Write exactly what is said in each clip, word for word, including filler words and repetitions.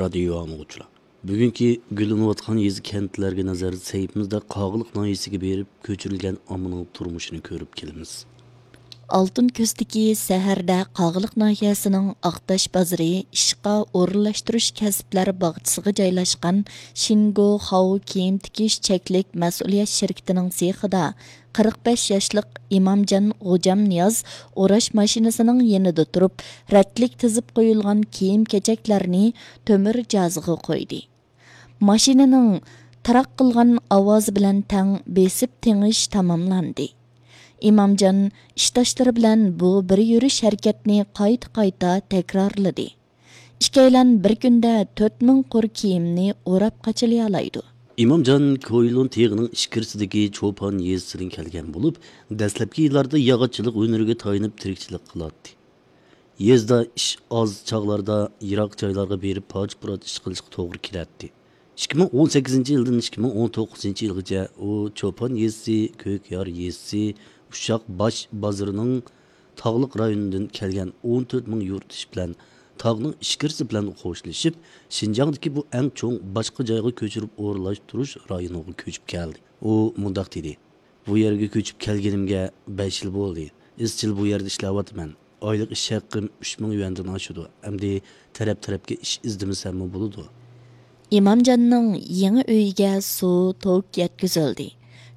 رادىيو ئاڭلىغۇچىلار، بۈگۈنكى گۈللىنىۋاتقان يېزا، كەنتلەرگە نەزەر سەھىپىمىزدە قاغىلىق ناھىيەسىگە بېرىپ، كۆچۈرۈلگەن ئاممىنىڭ تۇرمۇشىنى كۆرۈپ كېلىمىز. ئالتۇن كۆزدىكى سەھەردە قاغىلىق ناھىيەسىنىڭ ئاقتاش بازىرى ئىشقا ئورۇنلاشتۇرۇش كەسىپلەر باغچىسىغا جايلاشقان شىنگو خاۋ كىيىم تىكىش چەكلىك مەسئۇلىيەت شىركىتىنىڭ سېخىدا قىرىق بەش ياشلىق ئىمامجان غوجامنىياز ئوراش ماشىنىسىنىڭ يېنىدا تۇرۇپ، رەتلىك تىزىپ قويۇلغان كىيىم-كېچەكلەرنى تۆمۈر جازىغا قويدى. ماشىنىنىڭ تىراق قىلغان ئاۋازى بىلەن تەڭ بېسىپ تېڭىش تاماملاندى. ئىمامجان ئىشداشلىرى بىلەن بۇ بىر يۈرۈش ھەرىكەتنى قايتا-قايتا تەكرارلىدى. ئىككىيلەن بىر كۈندە تۆت مىڭ قۇر كىيىمنى ئوراپ قاچىلىيالايدۇ. ئىمامجان كويلۇن تېغىنىڭ ئىچكىرىسىدىكى چوپان يېزىسىدىن كەلگەن بولۇپ، دەسلەپكى يىللاردا ياغاچچىلىق ھۈنىرىگە تايىنىپ تىرىكچىلىك قىلاتتى. يېزىدا ئىش ئاز چاغلاردا يىراق جايلارغا بېرىپ پارچە-پۇرات ئىش قىلىشقا توغرا كېلەتتى. ئىككى مىڭ ئون سەككىزىنچى يىلدىن ئىككى مىڭ ئون توققۇزىنچى يىلغىچە ئۇ چوپان يېزىسى، كۆكيار يېزىسى، ئۇششاق باش بازىرىنىڭ تاغلىق رايونىدىن كەلگەن ئون تۆت مىڭ يۇرتدىشى بىلەن تاغنىڭ ئىچكىرىسى بىلەن خوشلىشىپ، شىنجاڭدىكى بۇ ئەڭ چوڭ باشقا جايغا كۆچۈرۈپ ئورۇنلاشتۇرۇش رايونىغا كۆچۈپ كەلدى. ئۇ مۇنداق دېدى: بۇ يەرگە كۆچۈپ كەلگىنىمگە بەش يىل بولدى. ئىزچىل بۇ يەردە ئىشلەۋاتىمەن. ئايلىق ئىش ھەققىم ئۈچ مىڭ يۈەندىن ئاشىدۇ. ئەمدى تەرەپ-تەرەپكە ئىش ئىزدىمىسەممۇ بولىدۇ. ئىمامجاننىڭ يېڭى ئۆيىگە سۇ، توك يەتكۈزۈلدى.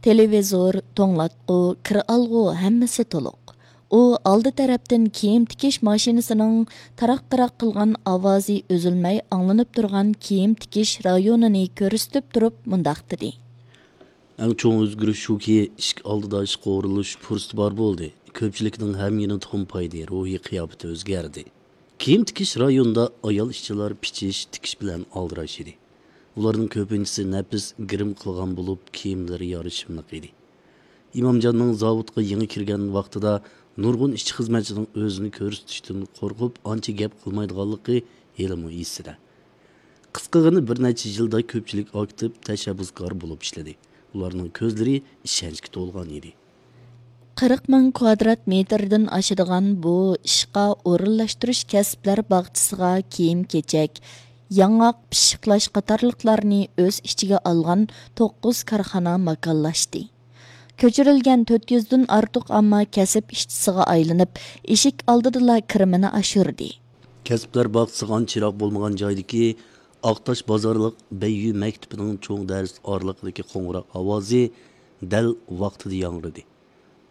تېلېۋىزور، توڭلاتقۇ، كىر ئالغۇ، ھەممىسى تولۇق. ئۇ ئالدى تەرەپتىن كىيىم تىكىش ماشىنىسىنىڭ تاراق-تاراق قىلغان ئاۋازى ئۈزۈلمەي ئاڭلىنىپ تۇرغان كىيىم تىكىش رايونىنى كۆرسىتىپ تۇرۇپ مۇنداق دېدى. ئەڭ چوڭ ئۆزگىرىش شۇكى، ئىشىك ئالدىدا ئىشقا ئورۇنلىشىش پۇرسىتى بار بولدى. كۆپچىلىكنىڭ ھەم يېنى تومپايدى، روھىي قىياپىتى ئۆزگەردى. كىيىم تىكىش رايونىدا ئايال ئىشچىلار پىچىش، تىكىش بىلەن ئالدىراش ئىدى. ئۇلارنىڭ كۆپىنچىسى نەپىس گىرىم قىلغان بولۇپ، كىيىملىرى يارىشىملىق ئىدى. ئىمامجاننىڭ زاۋۇتقا يېڭى كىرگەن ۋاقتىدا نۇرغۇن ئىشچى خىزمەتچىنىڭ ئۆزىنى كۆرسىتىشتىن قورقۇپ، ئانچە گەپ قىلمايدىغانلىقى ھېلىمۇ ئېسىدە. قىسقىغىنە بىر نەچچە يىلدا كۆپچىلىك ئاكتىپ تەشەببۇسكار بولۇپ ئىشلىدى. ئۇلارنىڭ كۆزلىرى ئىشەنچكە تولغان ئىدى. قىرىق مىڭ كۋادرات مېتىردىن ئاشىدىغان بۇ ئىشقا ئورۇنلاشتۇرۇش كەسىپلەر باغچىسىغا كىيىم-كېچەك، ياڭاق، پىششىقلاش قاتارلىقلارنى ئۆز ئىچىگە ئالغان توققۇز كارخانا ماكانلاشتى. كۆچۈرۈلگەن تۆت يۈزدىن ئارتۇق ئامما كەسىپ ئىشچىسىغا ئايلىنىپ، ئىشىك ئالدىدىلا كىرىمىنى ئاشۇردى. كەسىپلەر باغچىسىغا ئانچە يىراق بولمىغان جايدىكى ئاقتاش بازارلىق بەييۈ مەكتىپىنىڭ چوڭ دەرس ئارىلىقىدىكى قوڭغۇراق ئاۋازى دەل ۋاقتىدا ياڭرىدى.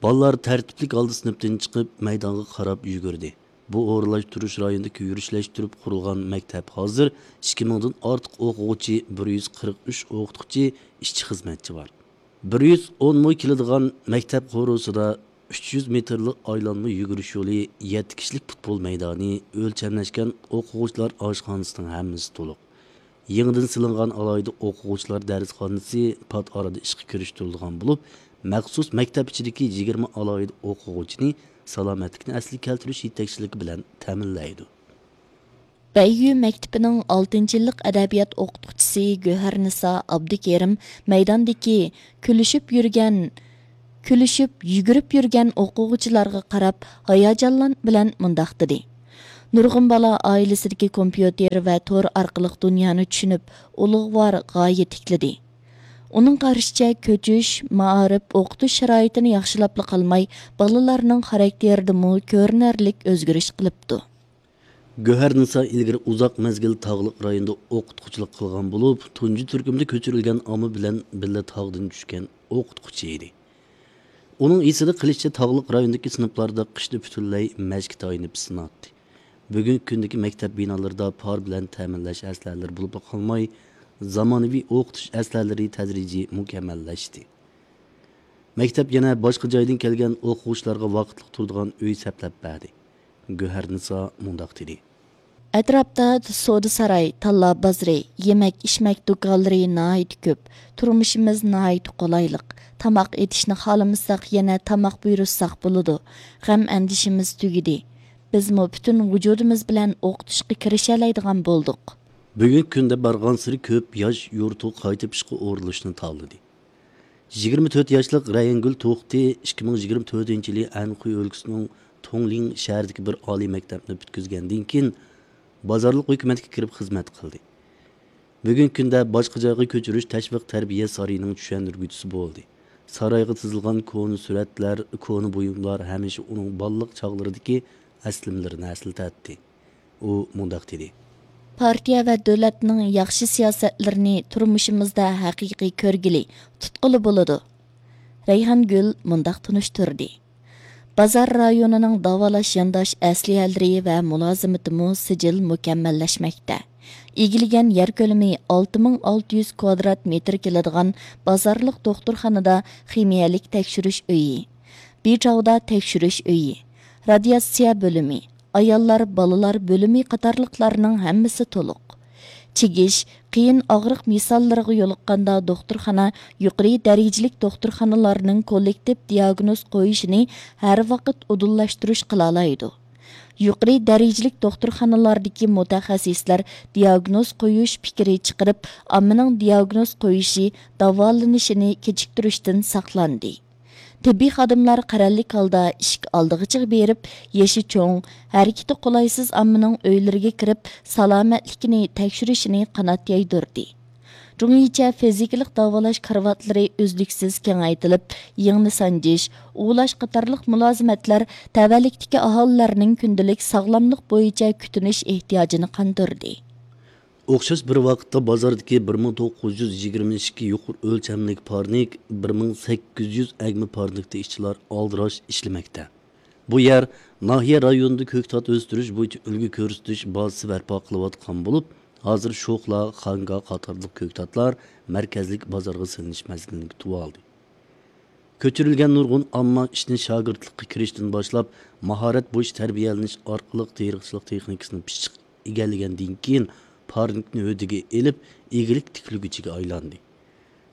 بالىلار تەرتىپلىك ھالدا سىنىپتىن چىقىپ، مەيدانغا قاراپ يۈگۈردى. بۇ ئورۇنلاشتۇرۇش رايونىدىكى يۈرۈشلەشتۈرۈپ قۇرۇلغان مەكتەپ ھازىر ئىككى مىڭدىن ئارتۇق ئوقۇغۇچى، بىر يۈز قىرىق ئۈچ ئوقۇتقۇچى، ئىشچى-خىزمەتچى بار. بىر يۈز ئون مو كېلىدىغان مەكتەپ قورۇسىدا ئۈچ يۈز مېتىرلىق ئايلانما يۈگۈرۈش يولى، يەتتە كىشىلىك پۇتبول مەيدانى، ئۆلچەملەشكەن ئوقۇغۇچىلار ئاشخانىسىنىڭ ھەممىسى تولۇق. يېڭىدىن سېلىنغان ئالاھىدە ئوقۇغۇچىلار دەرسخانىسى پات ئارىدا ئىشقا كىرىشتۈرۈلىدىغان بولۇپ، مەخسۇس مەكتەپ ئىچىدىكى يىگىرمە ئالاھىدە ئوقۇغۇچىنى سالامەتلىكنى ئەسلىگە كەلتۈرۈش يېتەكچىلىكى بىلەن تەمىنلەيدۇ. بەييۈ مەكتىپىنىڭ ئالتىنچى يىللىق ئەدەبىيات ئوقۇتقۇچىسى گۆھەرنىسا ئابدۇكېرىم مەيداندىكى كۈلۈشۈپ يۈرگەن، كۈلۈشۈپ، يۈگۈرۈپ يۈرگەن ئوقۇغۇچىلارغا قاراپ ھاياجانلان بىلەن مۇنداق دېدى: نۇرغۇن بالا ئائىلىسىدىكى كومپيۇتېر ۋە تور ئارقىلىق دۇنيانى چۈشىنىپ، ئۇلۇغۋار غايە تىكلىدى. ئۇنىڭ قارىشىچە، كۆچۈش، مائارىپ، ئوقۇتۇش شارائىتىنى ياخشىلاپلا قالماي، بالىلارنىڭ خاراكتېرىدىمۇ كۆرۈنەرلىك ئۆزگىرىش قىلىپتۇ. گۆھەرنىسا ئىلگىرى ئۇزاق مەزگىل تاغلىق رايوندا ئوقۇتقۇچىلىق قىلغان بولۇپ، تۇنجى تۈركۈمدە كۆچۈرۈلگەن ئامما بىلەن بىللە تاغدىن چۈشكەن ئوقۇتقۇچى ئىدى. ئۇنىڭ ئېسىدە قېلىشىچە، تاغلىق رايوندىكى سىنىپلاردا قىشتا پۈتۈنلەي مەشكە تايىنىپ ئىسسىناتتى. بۈگۈنكى كۈندىكى مەكتەپ بىنالىرىدا پار بىلەن تەمىنلەش ئەسلىھەلىرى بولۇپلا قالماي، زامانىۋى ئوقۇتۇش ئەسلىھەلىرى تەدرىجىي مۇكەممەللەشتى. مەكتەپ يەنە باشقا جايدىن كەلگەن ئوقۇغۇچىلارغا ۋاقىتلىق تۇرىدىغان ئۆي سەپلەپ بەردى. گۆھەرنىسا مۇنداق دېدى. ئەتراپتا سودا ساراي، تاللا بازىرى، يېمەك-ئىچمەك دۇكانلىرى ناھايىتى كۆپ. تۇرمۇشىمىز ناھايىتى قولايلىق. تاماق ئېتىشنى خالىمىساق، يەنە تاماق بۇيرۇتساق بولىدۇ. غەم-ئەندىشىمىز تۈگىدى. بىزمۇ پۈتۈن ۋۇجۇدىمىز بىلەن ئوقۇتۇشقا كىرىشەلەيدىغان بولدۇق. بۈگۈنكى كۈندە بارغانسېرى كۆپ ياش يۇرتىغا قايتىپ ئىشقا ئورۇنلىشىشنى تاللىدى. يىگىرمە تۆت ياشلىق رەيەنگۈل توختى ئىككى مىڭ يىگىرمە تۆتىنچى يىلى ئەنخۇي ئۆلكىسىنىڭ تۇڭلىڭ شەھىرىدىكى بىر ئالىي مەكتەپنى پۈتكۈزگەندىن كېيىن، بازارلىق ھۆكۈمەتكە كىرىپ خىزمەت قىلدى. بۈگۈنكى كۈندە باشقا جايغا كۆچۈرۈش تەشۋىق تەربىيە سارىيىنىڭ چۈشەندۈرگۈچىسى بولدى. سارايغا تىزىلغان كونا سۈرەتلەر، كونا بۇيۇملار ھەمىشە ئۇنىڭ بالىلىق چاغلىرىدىكى ئەسلىمىلىرىنى ئەسلىتەتتى. ئۇ مۇنداق دېدى. پارتىيە ۋە دۆلەتنىڭ ياخشى سىياسەتلىرىنى تۇرمۇشىمىزدا ھەقىقىي كۆرگىلى، تۇتقىلى بولىدۇ. رەيھانگۈل مۇنداق تونۇشتۇردى. بازار رايونىنىڭ داۋالاش يانداش ئەسلىھەلىرى ۋە مۇلازىمىتىمۇ سىجىل مۇكەممەللەشمەكتە. ئىگىلىگەن يەر كۆلىمى ئالتە مىڭ ئالتە يۈز كۋادرات مېتىر كېلىدىغان بازارلىق دوختۇرخانىدا خىمىيەلىك تەكشۈرۈش ئۆيى، بىچاۋدا تەكشۈرۈش ئۆيى، رادىياتسىيە بۆلۈمى، ئاياللار، بالىلار بۆلۈمى قاتارلىقلارنىڭ ھەممىسى تولۇق. چىگىش، قىيىن ئاغرىق مىساللىرىغا يولۇققاندا دوختۇرخانا يۇقىرى دەرىجىلىك دوختۇرخانىلارنىڭ كوللېكتىپ دىياگنوز قويۇشىنى ھەر ۋاقىت ئۇدۇللاشتۇرۇش قىلالايدۇ. يۇقىرى دەرىجىلىك دوختۇرخانىلاردىكى مۇتەخەسسىسلەر دىياگنوز قويۇش پىكرى چىقىرىپ، ئاممىنىڭ دىياگنوز قويۇشى، داۋالىنىشىنى كېچىكتۈرۈشتىن ساقلاندى. تېببىي خادىملار قەرەللىك ھالدا ئىشىك ئالدىغىچىغا بېرىپ، يېشى چوڭ، ھەرىكىتى قولايسىز ئاممىنىڭ ئۆيلىرىگە كىرىپ، سالامەتلىكىنى تەكشۈرۈشىنى قانات يايدۇردى. جۇڭيىچە فىزىكىلىق داۋالاش كارىۋاتلىرى ئۈزلۈكسىز كېڭەيتىلىپ، يىڭنە سانجىش، ئۇۋۇلاش قاتارلىق مۇلازىمەتلەر تەۋەلىكتىكى ئاھالىلەرنىڭ كۈندىلىك ساغلاملىق بويىچە كۈتۈنۈش ئېھتىياجىنى قاندۇردى. ئوخشاش بىر ۋاقىتتا بازاردىكى بىر مىڭ توققۇز يۈز يىگىرمە ئىككى يۇقىرى ئۆلچەملىك پارنىك، بىر مىڭ سەككىز يۈز ئەگمە پارنىكتا ئىشچىلار ئالدىراش ئىشلىمەكتە. بۇ يەر ناھىيە رايونىدا كۆكتات ئۆستۈرۈش بويىچە ئۈلگە كۆرسىتىش بازىسى بەرپا قىلىۋاتقان بولۇپ، ھازىر شوخلا، خاڭگا قاتارلىق كۆكتاتلار مەركەزلىك بازارغا سېلىنىش مەزگىلىنى كۈتۈۋالدى. كۆچۈرۈلگەن نۇرغۇن ئامما ئىشنى شاگىرتلىققا كىرىشتىن باشلاپ، ماھارەت بويىچە تەربىيەلىنىش ئارقىلىق تېرىقچىلىق تېخنىكىسىنى پىششىق ئىگىلىگەندىن كېيىن، پارنىكنى ھۆددىگە ئېلىپ، ئىگىلىك تىكلىگۈچىگە ئايلاندى.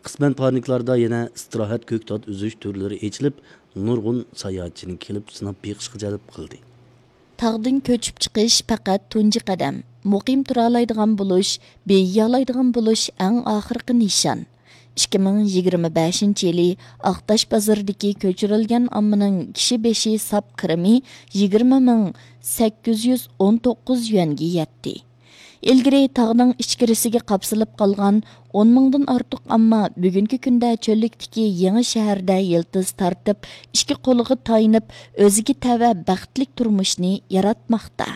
قىسمەن پارنىكلاردا يەنە ئىستىراھەت كۆكتات ئۈزۈش تۈرلىرى ئېچىلىپ، نۇرغۇن ساياھەتچىنى كېلىپ سىناپ بېقىشقا جەلپ قىلدى. تاغدىن كۆچۈپ چىقىش پەقەت تۇنجى قەدەم. مۇقىم تۇرالايدىغان بولۇش، بېيىيالايدىغان بولۇش ئەڭ ئاخىرقى نىشان. ئىككى مىڭ يىگىرمە بەشىنچى يىلى ئاقتاش بازىرىدىكى كۆچۈرۈلگەن ئاممىنىڭ كىشى بېشى ساپ كىرىمى يىگىرمە مىڭ سەككىز يۈز ئون توققۇز يۈەنگە يەتتى. ئىلگىرى تاغنىڭ ئىچكىرىسىگە قاپسىلىپ قالغان ئون مىڭدىن ئارتۇق ئامما بۈگۈنكى كۈندە چۆللۈكتىكى يېڭى شەھەردە يىلتىز تارتىپ، ئىككى قولىغا تايىنىپ، ئۆزىگە تەۋە بەختلىك تۇرمۇشنى ياراتماقتا.